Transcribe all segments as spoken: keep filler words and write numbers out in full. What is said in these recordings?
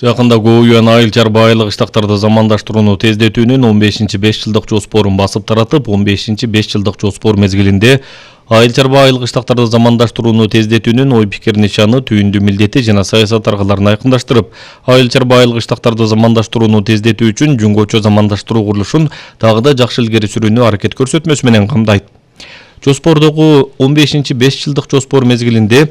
Жакында Гоуюан айыл чарба айлык иштактарды замандаштырууну тездетүүнүн он бешинчи беш жылдык жоспорун басып таратып, он бешинчи беш жылдык жоспор мезгилинде айыл чарба айлык иштактарды замандаштырууну тездетүүнүн ой пикир нишаны, түйүндү милдети жана саясат аргаларын айкындаштырып, айыл чарба айлык иштактарды замандаштырууну тездетүү үчүн жөнгөчө замандаштыруу курулушун дагы да жакшы илгери сүрүүнү аракет көрсөтмөсү менен камдайт. Жоспордогу он бешинчи беш жылдык жоспор мезгилинде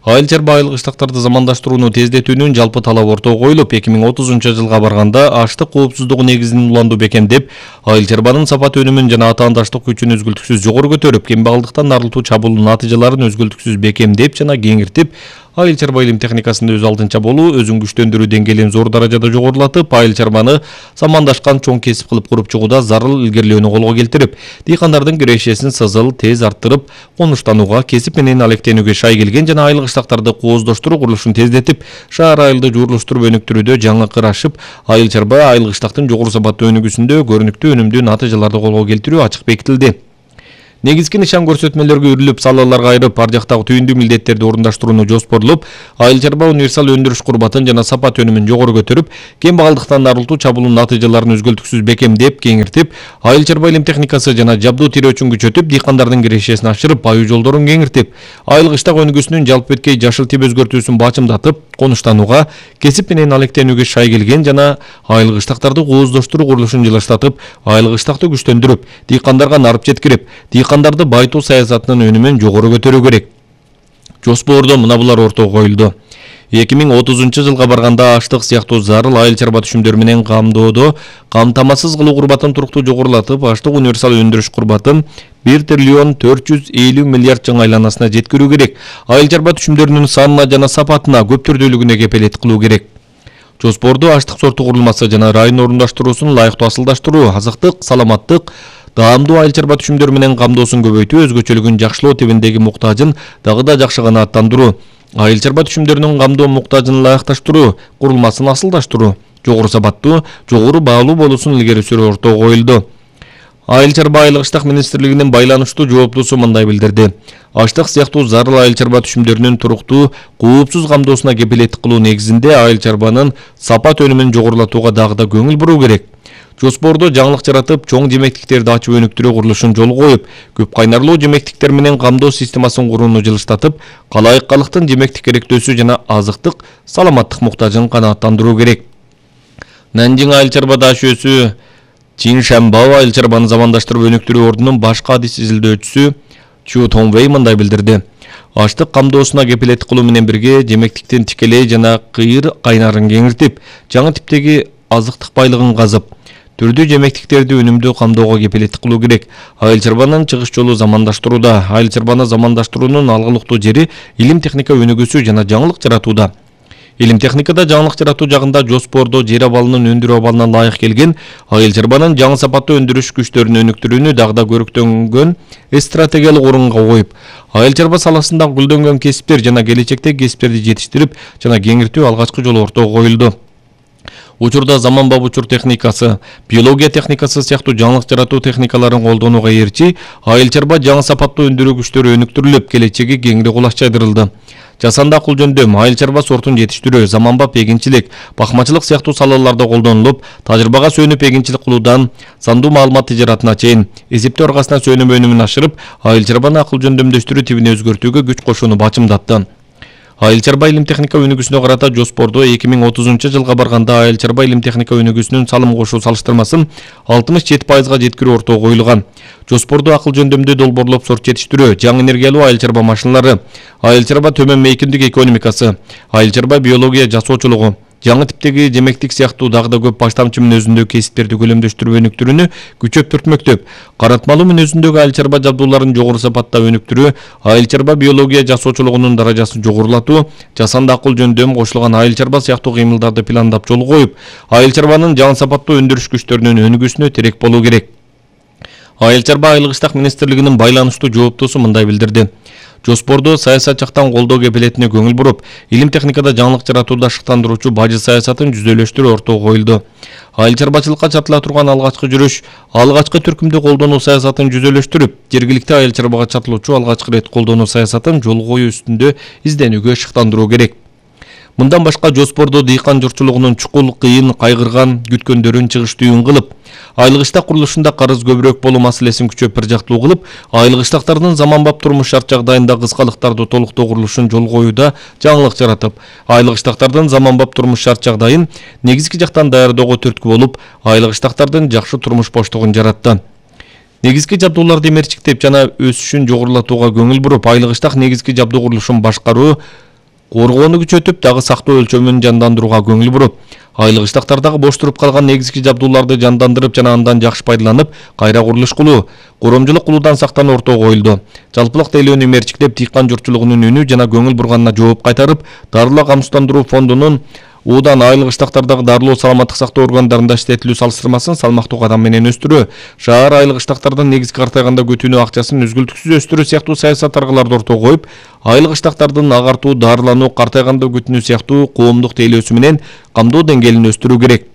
айыл чарба айлык иштактарды замандаштырууну тездетүүнүн жалпы талабы ортого коюлуп, эки миң отузунчу жылга барганда аштык коопсуздугу негизин уланду бекемдеп, айыл чарбанын сапат өнүмүн жана атаандаштык күчүн өзгөлтүксүз жогору көтөрүп, кембагалдыктан арылтуу чабуунун натыйжаларын өзгөлтүксүз бекемдеп жана кеңиртип, айыл чарба илим техникасында өз алдынча болуу, өзүн күчтөндүрүү деңгээлин зор даражада жогорулатып, айыл чарбаны самандашкан чоң кесип кылып куруп чыгууда зарыл илгерилөөнү колго келтирип, дыйкандардын кирешесин сызыл, тез арттырып, конуштанууга, кесип менен алектенүүгө шай келген жана айлык иштактарды кооздоштуруу курулушун тездетип, шаар айылды жуурлуштуруп өнүктүрүүдө жаңы кыр ашып, айыл чарба айлык иштактын жогору сапаттуу өнүгүүсүндө көрүнүктүү өнүмдүү натыйжаларды колго келтирүү ачык бекитилди. Негизги нишан көрсөтмөлөргө үрүлүп, салаларга айырып, ар жактагы түйүндүү милдеттерди орундаштырууну жоспорлоп, айыл чарба универсал өндүрүш курбатын жана сапат өнүмүн жогору көтөрүп, кембагалдыктан арылтуу чабуунун натыйжаларын өзгөлтүксүз бекемдеп, кеңиртип, айыл чарба илим техникасы жана жабдуу тирөөчүн күчөтүп, дыйкандардын кирешесин ашырып, аюу жолдорун кеңиртип, айлык иштак өнүгүүсүнүн жалпы өткөй жашыл тип өзгөртүүсүн бачымдатып, конуштанууга, кесип менен алектенүүгө шай келген жана айлык иштактарды кооздоштуруу курулушун жылыштатып, айлык иштакты күчтөндүрүп, дыйкандарга нарып жеткирип, дыйкандарды байытуу саясатынын өнүмүн жогору көтөрүү керек. Жоспордо мына булар ортого коюлду. эки миң отузунчу жылга барганда аштык сыяктуу зарыл айыл чарба түшүмдөр менен камдоодо камтамасыз кылуу курбатын туруктуу жогорулатып, аштык универсал өндүрүш курбатын бир триллион төрт жүз элүү миллиард жаңы айланасына жеткирүү керек. Айыл чарба түшүмдөрүнүн санына жана сапатына, көп түрдүүлүгүнө кепелет кылуу керек. Жоспордо аштык сорту курулмасы жана район орундаштыруусун лайыктуу асылдаштыруу, азыктык, саламаттык, даамдуу айыл чарба түшүмдөр менен камдоосун көбөйтүү, өзгөчөлүгүн жакшылоо тибиндеги муктажын дагы да жакшы канааттандыруу, айыл чарба түшүмдөрүнүн камдоо муктажын ылайыкташтыруу, курулмасын асылдаштыруу, жогору сапаттуу, жогору баалуу болуусун илгери сүрүү ортого коюлду. Айыл чарба айлык иштак министрлигинин байланыштуу жооптусу мындай билдирди. Аштык сыяктуу зарыл айыл чарба түшүмдөрүнүн туруктуу, коопсуз камдоосуна кепилеттик кылуу негизинде айыл чарбанын сапат өнүмүн жогорулатууга дагы да көңүл буруу керек. Жоспордо жаңылык жаратып, чоң жемектиктерди ачып өнүктүрүү курулушун жолго коюп, көп кайнарлуу жемектиктер менен камдоо системасын курууну жылыштатып, калайык калктын жемектик керектөөсү жана азыктык, саламаттык муктажын канааттандыруу керек. Нанжиң айыл чарба дашөөсү Чиншанбао айыл чарбаны замандаштырып өнүктүрүү ордунун башкы адис изилдөөчүсү Чу Тонвей мындай билдирди. Аштык камдоосуна кепилеттик кылуу менен бирге жемектиктин тикелей жана кыйыр кайнарын кеңиртип, жаңы типтеги азыктык байлыгын казып, түрдүү жемектиктерди өнүмдүү камдоого кепилеттик кылуу керек. Айыл чарбанын чыгыш жолу замандаштырууда. Айыл чарбаны замандаштыруунун алгылыктуу жери илим техника өнүгүүсү жана жаңылык жаратууда. Илим техникада жаңылык жаратуу жагында жоспордо жер абалынын өндүрүү абалына лайык келген, айыл чарбанын жаңы сапаттуу өндүрүш күчтөрүн өнүктүрүүнү дагы да көрүктөнгөн стратегиялык орунга коюп, айыл чарба саласында гүлдөнгөн кесиптер жана келечектеги кесиптерди жетиштирип жана кеңиртүү алгачкы жолу ортого коюлду. Учурда заманбап учур техникасы, биология техникасы сыяктуу жаңылык жаратуу техникаларын колдонууга эрчи, айыл чарба жаңы сапаттуу өндүрүү күчтөрү өнүктүрүлүп, келечеги кеңири кулаш жайдырылды. Жасанды акыл жөндөм, айыл чарба сортун жетиштирүү, заманбап эгинчилик, бакмачылык сыяктуу салаларда колдонулуп, тажрыйбага сүйөнүп эгинчилик кылуудан сандуу маалымат тижаратына чейин эсептөө аркасына сүйөнүп өнүмүн ашырып, айыл чарбаны акыл жөндөмдөштүрүү тибине өзгөртүүгө күч кошууну бачымдатты. Айыл чарба илим техника өнүгүүсүнө карата жоспордо эки миң отузунчу жылга барганда айыл чарба илим техника өнүгүүсүнүн салым кошуу салыштырмасын алтымыш жети пайызга жеткирүү ортого коюлган. Жоспордо акыл жөндөмдүү долбоорлоп сорт жетиштирүү, жаңы энергиялуу айыл чарба машиналары, айыл чарба төмөн мейкиндик экономикасы, айыл чарба биология жасоочулугу, жаңы типтеги жемектик сыяктуу дагы да көп баштамчы мүнөзүндөгү кесиптерди көлөмдөштүрүп өнүктүрүүнү күчөп түртмөктөп, каратмалуу мүнөзүндөгү айыл чарба жабдууларын жогору сапатта өнүктүрүү, айыл чарба биология жасоочулугунун даражасын жогорулатуу, жасанды акыл жөндөм кошулган айыл чарба сыяктуу кыймылдарды пландап жолго коюп, айыл чарбанын жаңы сапаттуу өндүрүш күчтөрүнүн өнүгүүсүнө терек болуу керек. Айыл чарба айлык иштак министрлигинин байланыштуу жооптусу мындай билдирди. Жоспордо саясат жактан колдоо кепилетине көңүл буруп, илим техникада жаңылык жаратууда шыктандыруучу бажы саясатын жүзөлөштүрүү ортого коюлду. Айыл чарбачылыкка чатыла турган алгачкы жүрүш, алгачкы түркүмдү колдонуу саясатын жүзөлөштүрүп, жергиликти айыл чарбага чатылуучу алгачкы рет колдонуу саясатын жолго коюу үстүндө изденүүгө шыктандыруу керек. Мындан башка жоспордо дыйкан журтчулугунун чукул, кыйын, кайгырган, күткөндөрүн чыгыштүүн кылып, айылгыштак курулушунда карыз көбүрөөк болуу маселесин күчөп бир жактуу кылып, айылгыштактардын заманбап турмуш шарт жагдайында кыскалыктарды толуктоо курулушун жол коюуда жаңылык жаратып, айылгыштактардын заманбап турмуш шарт жагдайын негизги жактан даярдоого түрткү болуп, айылгыштактардын жакшы турмуш боштугун жаратты. Негизги жабдууларды мерчиктеп жана өсүшүн жогорулатууга көңүл буруп, айылгыштак негизги жабдуу курулушун башкаруу, коргоону күчөтүп, дагы сактоо өлчөмүн жандандырууга көңүл буруп, айылгыштактардагы бош туруп калган негизги жабдууларды жандандырып жана андан жакшы пайдаланып, кайра курулуш кылуу, коромжулук кылуудан сактануу ортого коюлду. Жалпылык тейлөөнү мерчиктеп, дыйкан журтчулугунун үнү жана көңүл бурганына жооп кайтарып, дарылоо камсыздандыруу фондунун Удан айылгыштактардагы дарылоо саламаттык сактоо органдарында иштетилүү салыштырмасын салмактуу кадам менен өстүрүү, шаар айылгыштактардын негизги картайганда көтүүнү акчасын үзгүлтүксүз өстүрүү сыяктуу саясат аргаларды ортого коюп, айылгыштактардын агартуу, дарылануу, картайганда көтүүнү сыяктуу коомдук тейлөөсү менен камдоо деңгээлин өстүрүү керек.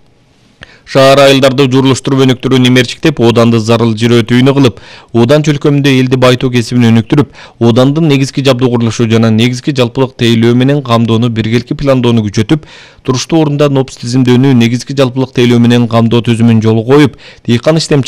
Шаар айылдарды журулуштуруп өнүктүрүүнү мерчиктеп, Оданды зарыл жер өтүүнү кылып, Одан чөлкөмүндө элди байытуу кесибин өнүктүрүп, Одандын негизги жабдуу курулушу жана негизги жалпылык тейлөө менен камдоону биргеликти пландоону күчөтүп, туруштуу орунда НОПС тизимдөөнү, негизги жалпылык тейлөө менен камдоо түзүмүн жолго коюп, дыйкан иштемчи